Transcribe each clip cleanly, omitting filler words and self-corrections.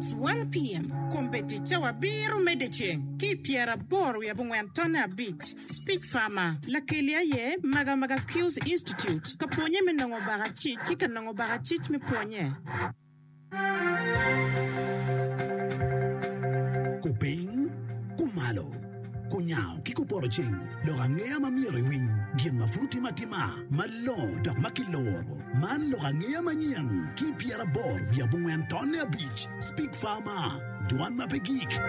It's one PM. Kombeddi cawa abiro me dyeceng ki i pyeraboro wiye abongwen tonne abic. Speech Farmer, Lakeli aye Magamaga Skills Institute ka pwonye me nongo bakacic ki ka nongo bakacic me pwonye. Kupiny, kumalo, kunyango ki kupoto ceng, lok angeya ma myero iwiny, gin ma pud otimme atima, malongo dok ma kiloro. Man lok angeya manyen ki i pyeraboro wiye abongwen tonne abic, Speak Farmer, Dwan ma pe gik.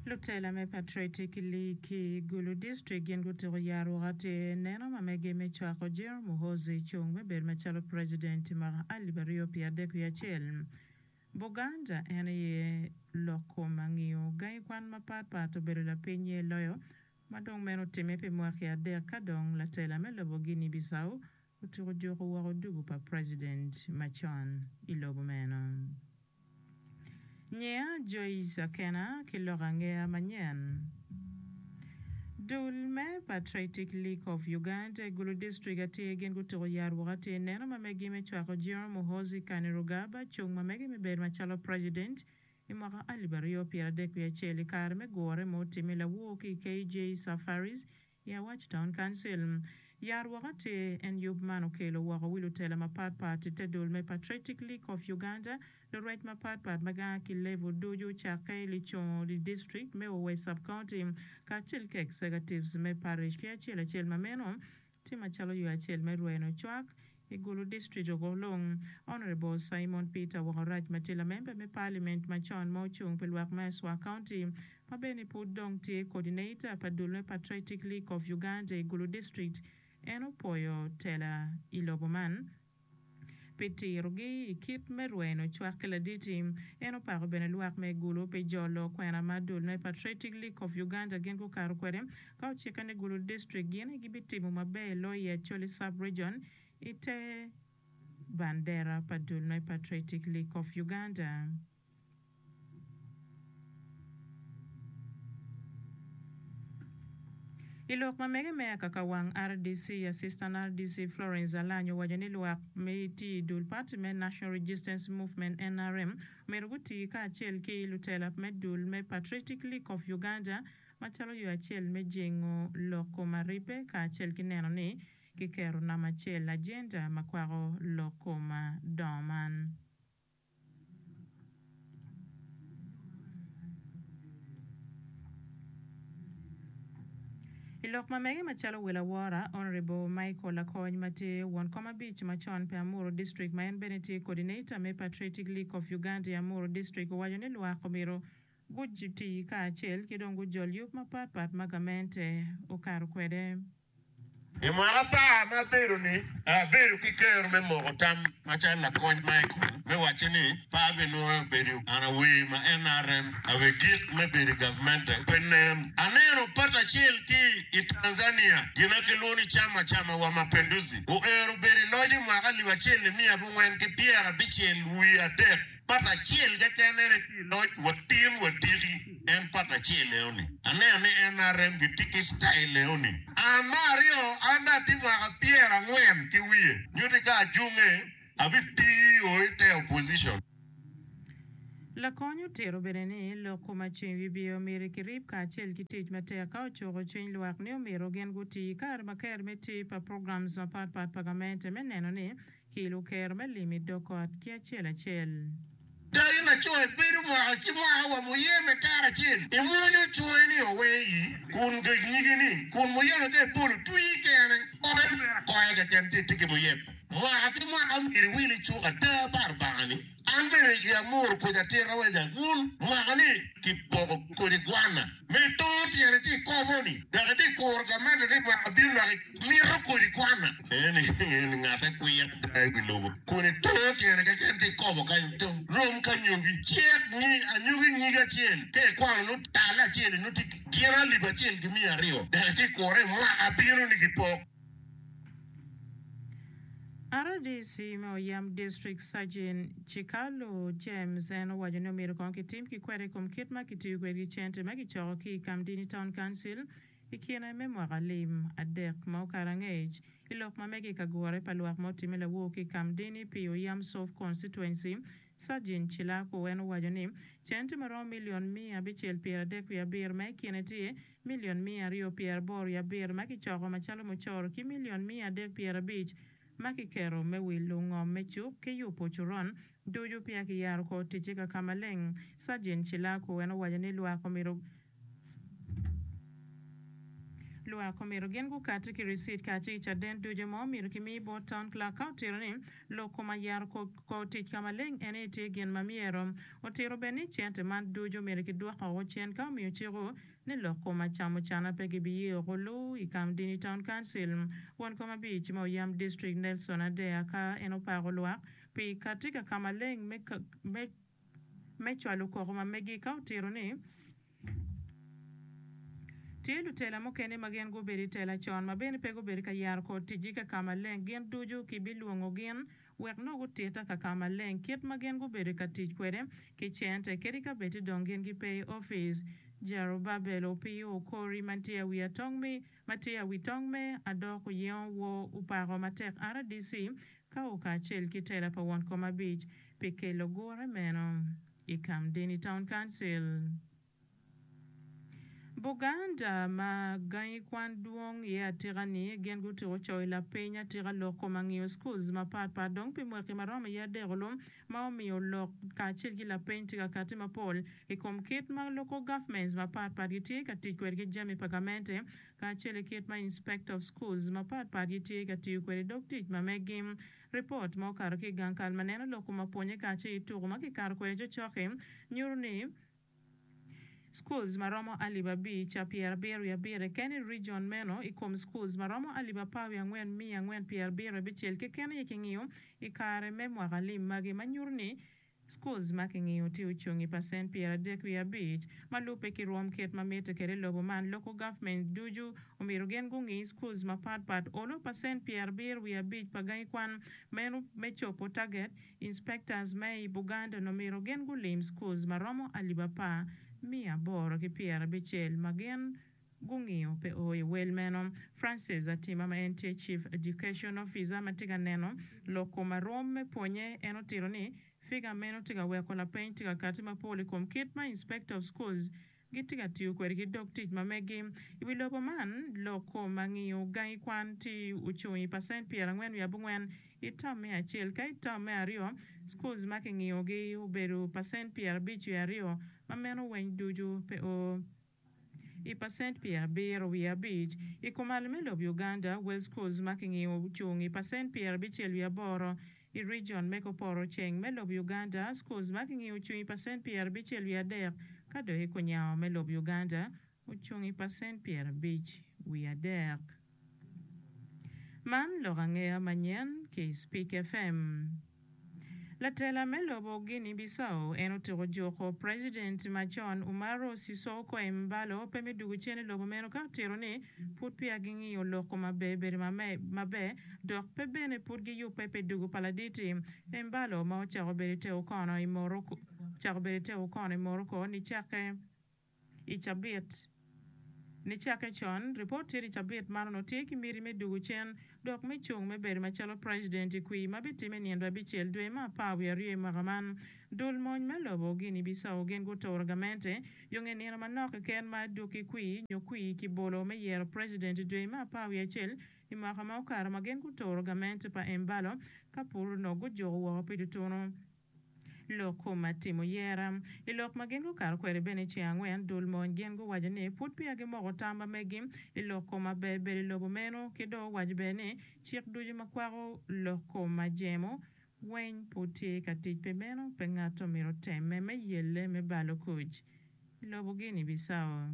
Lutela me Patriotic League ki Gulu District gin gutuko yarwok atir neno ma mege me cwako General Muhoozi cung me bedo macalo President i mwaka alip aryo pye adek wiye acel. Buganda en aye lok kom angiyo gangi kwan mapat pat obedo lapiny-nye loyo ma dong meno otimme pi mwaki adek ka dong latela me lobo Guinea Bissau otuko juko woko dugu pa President macon i lobo meno. Nyiya Joyce Akena ki lok angeya manyen. Dul me Patriotic League of Uganda i Gulu District atir gin gutuko yarwok atir neno ma megi me cwako General Muhoozi Kainerugaba cung ma mege me bedo macalo President i mwaka 2031 i kare me gure ma otimme lawor ki i KJ Safaris I Awach Town Council, yar woko atir en yub man okelo woko wi lutela mapat pat i te dul me Patriotic League of Uganda, lurwec mapat pat ma gaa ki level ducu cakke i licungo i district me Owey Sub County kacel ki executives me parish ki acel acel ma meno tye macalo yo acel me rweno cwak I Gulu District Okolong, Honourable Simon Peter Wokorac ma tye lamemba me Parliament macon ma ocung pi lwak me Aswa County ma bene pud dong tye Coordinator pa dul me Patriotic League of Uganda i Gulu District en opwoyo tela i lobo man pi tirogi i kit me rweno cwak ki laditi. En opako bene lwak me Gulu pi jolo kwena ma dul me Patriotic League of Uganda gin gukato kwede Ka ocikke ni Gulu District gin aye gibitimo maber loyo i Acholi Sub-Region i te bandera pa dul me Patriotic League of Uganda. I lok ma mege me akaka wang RDC, Assistant RDC Florence Alany owaco ni lwak me tye i dul party me National Registance Movement, NRM, myero guti kacel ki lutela me dul me Patriotic League of Uganda Macalo yo acel me jingo lok kom aribbe kacel ki neno ni kiketo namba acel ajenda ma kwako lok kom dongo man. I lok ma mege macalo wel awora, Honourable Michael Lakony ma tye won kom abic macon pi Amuru District ma en bene tye Coordinator me Patriotic League of Uganda i Amuru District owaco ni lwak omyero Guti kacel ki dong gujol yub mapatpat ma gamente okato kwede. I mwaka apar ma abedo-ni, abedo ki kero me moko tam macalo lakony Michael me wacce ni pe abinwoyo bedo an awer ma NRM awe gik me bedo i gavmente pe nen. Aneno pat acel ki i Tanzania gin ma kilwongo ni Chama Chama wa Mapinduzi oero bedo i loc i mwaka alip acel nimiya abongwen ki pyerabicel wiye adek. Pat acel keken en aye tye i loc wa tin wa diki en pat acel eno ni. Aneno ni NRM gitye ki style eno ni. An me aryo an dong atye mwaka 40 ki wiye nyuti ka ajunge abi tiyo ite opposition. Lakony otito bene ni lok kom aceng wi bye omyero kirib kacel ki tic matek ka ocuko cwiny lwak ni omyero gin guti kare ma ker me tii pa programs mapat pat pa gamente me neno ni Ki luker me lim i dog ot ki acel acel. Dong in laco ibedo mwaka ki mwaka wa muyeme tara acel, imwonyo cwonge ni owe ii, kun gec nyige ni, kun muyeme ka ibolo twii kene, koyo mere akoya keken ci itye ki muyeme. Mwaka ki mwaka myero iwil icuk ada pa Rubanga ni, An bene i amuru kodi atira wa jagun mwaka ni kipoko kodi gwana me tongo tyene ci ikobo ni dok itye kuro gamente ni mwaka bino dok imito kodi gwana eni eni ngate kwir ada i wi lobo kun itongo tyene keken ci ikobo kany to rom ka nyogi cek nyi anyogi nyig acel ka ikwano nongo tale acel nongo tye gin alip acel ki miya aryo dok itye kure mwaka bino ni gipok. RDC me Oyam District Sergeant Chikalu James en owaco ni omyero kong kitim ki kwede i kom kit ma kitiyo kwede ki cente ma kicoko ki i Kamdini Town Council i kine me mwaka lim adek ma okato angec. I lok ma mege i ka gure pa lwak ma otimme lawor ki i Kamdini pi Oyam South Constituency, Sajin Cilaku en owaco ni cente ma romo milion 637 ma i kine tye milion 287 ma kicoko macalo mucoro ki milion 350 ma kiketo me wilo ngom me cuk ki yubo coron ducu peya kiyaro kor ticce ka ka maleng. Sajin Cilaku en owaco ni lwak omyero Lwak omyero gin gukati ki ricit kacel ki caden ducu ma omyero kimi bot Town Clerk ka otito ni lok kom ayero kor tic ka maleng en aye tye gin ma myero. Otito bene ni cente man ducu omyero kidwok oko cen ka omiyo ciko ni lok kom acamucana pe gibiye oko lu i Kamdini Town Council. Won kom abic me Oyam District Nelson Adeya ka en opako lwak pi kati ka kamaleng me me cwalo koko ma megi ka otito ni, Tye lutela mukene ma gin gubedo i tela con ma bene pe gubedo ka yaro kor ticgi ka ka maleng. Gin ducu kibilwongo gin wek nongo gutitta ka ka maleng kit ma gin gubedo ka tic kwede ki cente kadi ka bed ti dong gin gipe i opic. Jerubabel opiyo okori ma tye awi tong me adok oyengo wor opako matek RDC ka o kacel ki tela pa won kom abic pi kelo gure meno i Kamdini Town Council. Buganda ma gangi kwan dwong iye atika ni gin gutyeko coyo lapeny atika lok kom angiyo schools mapat pat dong pi mwaki maromo iye adek olu ma omiyo lok kacel ki lapeny tye ka kati mapol i kom kit ma local governments mapat pat gitye ka tic kwede ki jami pa gamente kacel ki kit ma inspector of schools mapat pat gitye ka tiyo kwede dog tic ma megi. Ripot ma okato ki i gang kal ma neno lok kom apwonye kacel ki tuko ma kikato kwede cokcok-ki nyuto ni schools ma romo alip abic 77 keken i region meno i kom schools ma romo alip 14,476 keken aye kingiyo i kare me mwaka lim magi ma nyuto ni Schools ma kingiyo tye ocung i pacent 35 ma lubbe ki rwom kit ma mitte kwede i lobo man. Local government ducu omyero gin gungi schools mapat pat olo pacent 75 pa gangi kwan meno me cobo target. Inspectors me i Buganda onongo myero gin gulim schools ma romo alip 10,860 ma gin gungiyo pe o i wel meno. Francis Atima ma en tye Chief Education Officer ma tye ka neno lok kom arom me pwonye en otito ni figa meno tye ka weko lapeny tye ka kati mapol i kom kit ma Inspector of Schools gitye ka tiyo kwede ki dog tic ma megi. I wi lobo man, lok kom angiyo gangi kwan tye ocung i pacent 49 i term me acel ka i term me aryo schools ma kingiyogi obedo pacent 52 ma meno weng ducu pe o i pacent 75. I kumal me lob Uganda, wel schools ma kingiyo ocung i pacent 68. I region me kuporo ceng me lob Uganda, schools ma kingiyo ocung i pacent 63 ka dok i kunyango me lob Uganda ocung i pacent 53. Man lok angeya manyen ki i Speak FM. Latela me lobo Guinea Bissau en otyeko juko President macon Umaro Sissoco Embalo pe me dugo cen i lobo meno ka otito ni pud peya gingiyo lok kom aber bedo maber dok pe bene pud giyubbe pi dugo pa laditi Embalo ma ocako bedo i te okono i Morocco nicakke I cabit nicakke con, ripot tye ni cabit man onongo tye ki miti me dugo cen dok me cung me bedo macalo president i kwir ma bitimme nindo abicel dwe me apar wiye aryo i mwaka man. Dul mony me lobo Guinea Bissau gin guturo gamente yo nge nino manok keken ma adwogi kwir nyo kwir kibolo me yero president i dwe me apar wiye acel i mwaka ma okato ma gin guturo gamente pa Embalo ka pur onongo gujuko woko pi tutunu. Lok kom atimo yera. I lok ma gin gukato kwede bene i ceng angwen, dul mony gin guwaco ni pud peya gimoko tam ma megi i lok kom aber bedo i lobo meno ki dong owaco bene ni cik ducu ma kwako lok kom ajemo weng pud tye ka tic pi meno pe ngat omito otemme me yelle me balo kuc i lobo Guinea Bissau.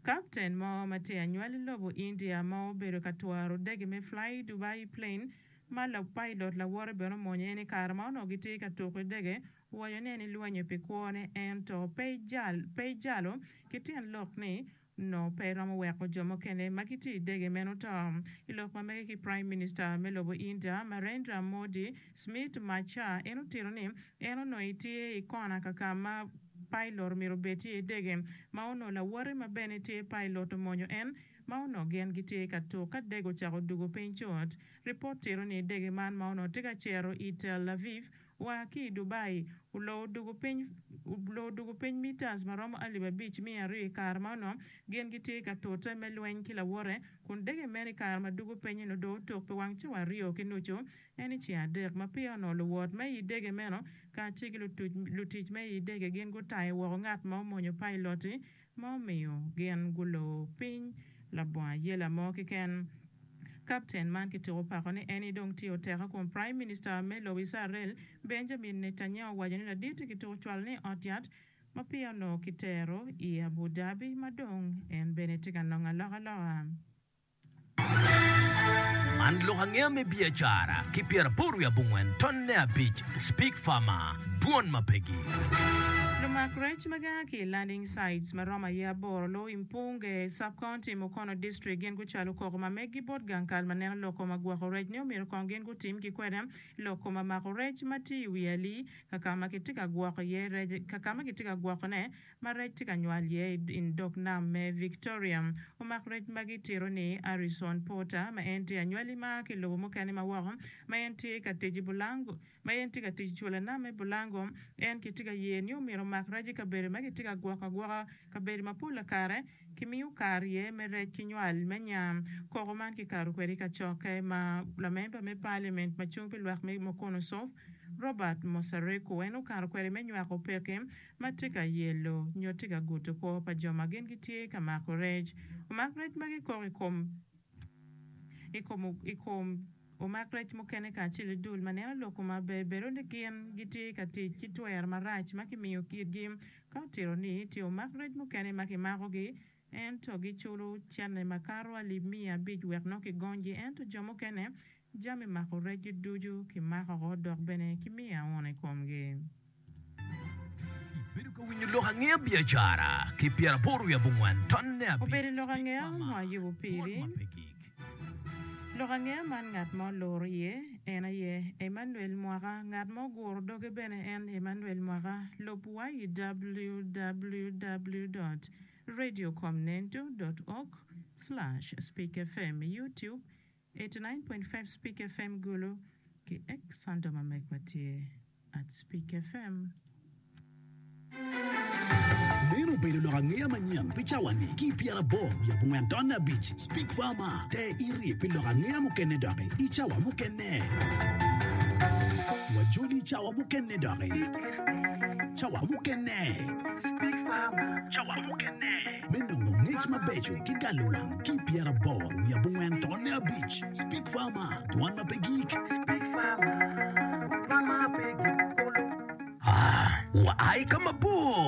Kapten mo ma tye anywal i lobo India ma obedo ka twaro dege me Fly Dubai plane ma lapailot lawote bene omonyo en i kare ma onongo gitye ka tuko i dege owaco ni en elwenyo pi kwone ento pe ejalo ki tyen lok ni onongo pe eromo weko jo mukene ma gitye i dege meno to. I lok ma mege ki Prime Minister me lobo India Narendra Modi, Smit Machar en otito ni en onongo etye i kona kaka ma pailot myero obed tye i dege ma onongo lawote ma bene tye pailot omonyo en. ma onongo gin gitye ka tuk ka dege ocako dugo piny cut. Ripot tito ni dege man ma onongo tye ka cito i Tel Aviv wa ki i Dubai oloo odugo piny oloo odugo piny meters ma romo alip 5200 i kare ma onongo gin gitye ka tute me lweny ki lawote kun dege meno i kare ma dugo piny-ni onongo dong otuk pi wang cawa aryo ki nucu en i ceng adek ma peya onongo luwot me i dege meno kacel ki lutic me i dege gin gutayo woko ngat ma omonyo pailot-ti ma omiyo gin gulor piny labongo ayela mo keken. Kapten man kitiko pako ni en dong tye oteka kun Prime Minister me lobo Icrael Benjamin Netanyahu owaco ni ladit-ti kitiko cwalo ni i ot yat ma peya onongo kitero i Abu Dhabi ma dong en bene tye ka nongo alokaloka. Man lok angeya me biacara ki 84 tonne abic Speak Farmer, Dwon ma pegi. Lumak rec ma gia ki i landing sites ma romo aye aboro luo i Mpunge Sub-County, Mukono District gin gucwalo koko ma meggi bot gang kal ma neno lok kom agwoko rec ni omyero kong gin gutim ki kwede lok kom amako rec ma tye i wi alii kakama kitye ka gwoko iye rec kakama kitye ka gwokone ma rec tye ka nywal iye i dog nam me Victoria. Omak rec magi tito ni Harrison Porter, ma en tye anywali ma a ki i lobo mukene ma woko, ma en tye ka tic i Bulango, ma en tye ka tic i cula nam me Bulango, en kitye ka ye ni omyero omak rec i kabedo ma kitye ka gwoko agwoka, kabedo ma pola kare kimiyo kare iye me rec ki nywal me nya. Koko man kikato kwede i kacokke ma lamemba me Parliament ma cung pi lwak me Mukono South, Robert Mosareku en okato kwede me nywako peke ma tye ka yelo nyo tye ka gudo kwo pa jo ma gin gitye ka mako rec. Omak rec magi kok i kom i kom i kom omak rec mukene kacel ki dul ma neno lok kom maber bedo ni gin gitye ka tic ki twero marac ma kimiyo kitgi. Ka otito ni tye omak rec mukene ma kimakogi ento giculo cente makato alip 500 wek nongo kigonygi ento jo mukene Jami mako recgi ducu kimako oko dok bene kimiyo auna i komgi. Ibedo ka winyo lok angeya biacara ki 89 tonne abic Obedo lok Speak angeya Farmer, ma ayubo Dwon piri. ma pe gik. Lok angeya man ngat ma oluro iye en aye Emmanuel Mwaka, ngat ma oguro doge bene en Emmanuel Mwaka. Lub wa i www dot radiocomnendo dot org slash speakfm, YouTube, 89.5 Speak FM Gulu ki X handle ma megwa tye at Speak FM. Meno obedo lok angeya manyen pi cawa-ni ki i 84 tonne abic Speak Farmer te iri pi lok angeya mukene doki i cawa mukene. Wajoli i cawa mukene doki. Cawa mukene. Me nongo ngec mabeco ki galo wang ki i 89 5 Speak Farmer, Dwan ma pe gik. Aa, wa ai ka mabor.